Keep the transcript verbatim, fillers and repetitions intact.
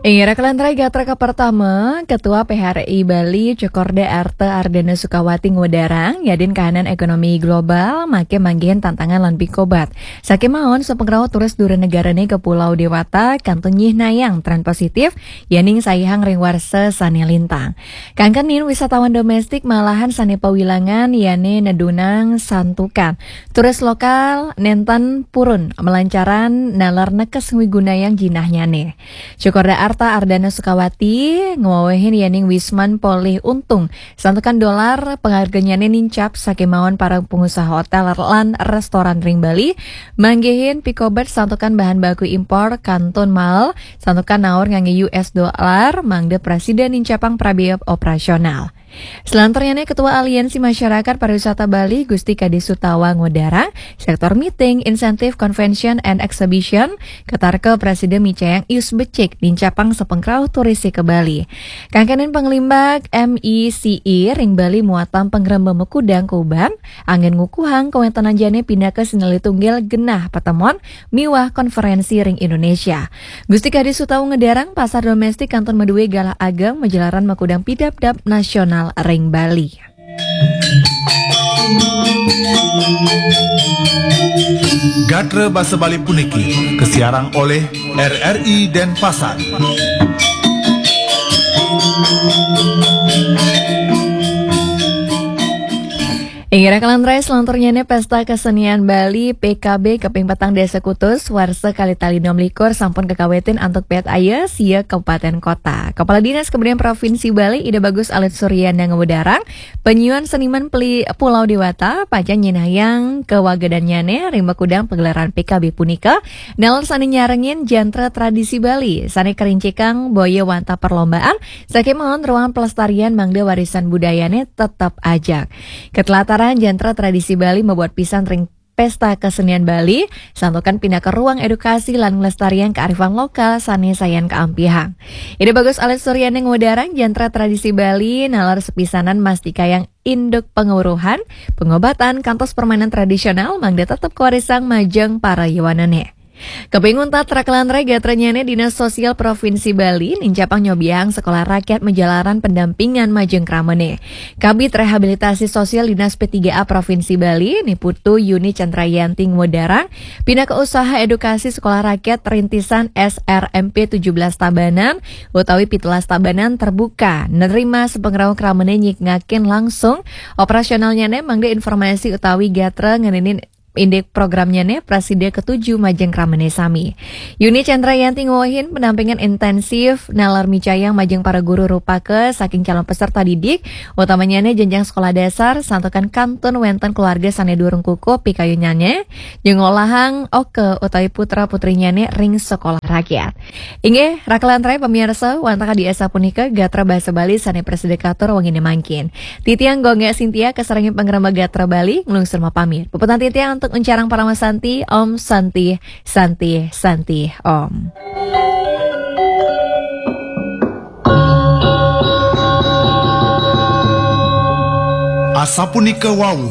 Inggih, rakelan rai gatra ka pertama, Ketua P H R I Bali, Cokorda Arta Ardana Sukawati ngudarang, yadin kahanan ekonomi global, make manggihin tantangan lan pikobat. Sakémaon, sapangrauh turis dura negarane ka Pulau Dewata, kantun nyihnayang tren positif, yaning saihang ring warsa sane lintang. Kangkenin wisatawan domestik malahan sane pawilangan, yane nedunang santukan. Turis lokal nenten purun malancaran nalar nekes ngwigunayang jinahnyane. Cokorda Arta Ardana Sukawati ngwewehin yaning wisman polih untung santukan dolar pangharganyane nincap sakémaon para pengusaha hotel lan restoran ring Bali manggihin pikobat santukan bahan baku impor kantun mael santukan naur ngangge U S dolar mangda prasida nincapang prabiaya operasional. Selanturnyane, Ketua Aliansi Masyarakat Pariwisata Bali, Gusti Kadi Sutawa ngudarang, sektor meeting, incentive, convention, and exhibition, katarka prasida micayang ius becik, nincapang sapangrauh turis ka Bali. Kangkenin panglimbak M E C E ring Bali muatan pangremba makudang kuban, anggen ngukuhang kawentenan jane pinaka sinalih tunggil genah patemon miwah konferensi ring Indonesia. Gusti Kadi Sutawa ngudarang pasar domestik kantun madue galah ageng majalaran makudang pidabdab nasional ring Bali. Gatra basa Bali puniki kasiarang oleh R R I Denpasar. Inggih, rakelan rai, selanturnyane Pesta Kesenian Bali P K B kaping petang dasa kutus warsa kalih tali enam likur sampun kakawitin antuk pet aya sia kabupaten kota. Kepala Dinas Kebudayaan Provinsi Bali Ida Bagus Alit Suryana ngudarang, penyuan seniman peli Pulau Dewata pacang nyinahang kawagedannyane ring makudang pagelaran P K B punika, nalar sane nyarengin jantra tradisi Bali sane karincikang boya wantah perlombaan, sakémaon ruang pelestarian mangda warisan budayane tetep ajak. Ketelataran jantra tradisi Bali mabuat pisan ring Pesta Kesenian Bali, santukan pinaka ruang edukasi lan nglestariang kearifan lokal sane sayan kaampihang. Ida Bagus Alit Suryana ngudarang jantra tradisi Bali nalar sepisanan mastikayang induk penguruhan, pengobatan, kantos permainan tradisional mangda tetep kawarisang majeng para yowanane. Kaping untat, rakelan rai, gatranyane Dinas Sosial Provinsi Bali nincapang nyobiahang sekolah rakyat majalaran pendampingan majeng kramane. Kabid Rehabilitasi Sosial Dinas P tiga A Provinsi Bali, Ni Putu Yuni Chandrayanti ngudarang, pinaka usaha edukasi sekolah rakyat rintisan S R M P tujuh belas Tabanan utawi pitulas Tabanan terbuka nerima sapangrauh kramane nyikngakin langsung operasionalnyane mangda informasi utawi gatra ngenenin indik programnyane prasida katuju majeng kramane sami. Yuni Chandrayanti ngwewehin pendampingan intensif nalar micayang majeng para guru rupaka saking calon peserta didik, utamanyane jenjang sekolah dasar, santukan kantun wenten keluarga sane durung kukuh pikayunnyane, nyengolahang oka utawi putra putrinyane ring sekolah rakyat. Inggih, rakelan rai pamiarsa, wantah kadi asapunika gatra basa Bali sane prasida katur wengine mangkin. Titiang Gongga Sintia kasarengin pangrembag gatra Bali, nglungsur mapamit. Puputang titiang antuk uncarang Parama Santi, Om Santi, Santi, Santi, Om. Asapunika wau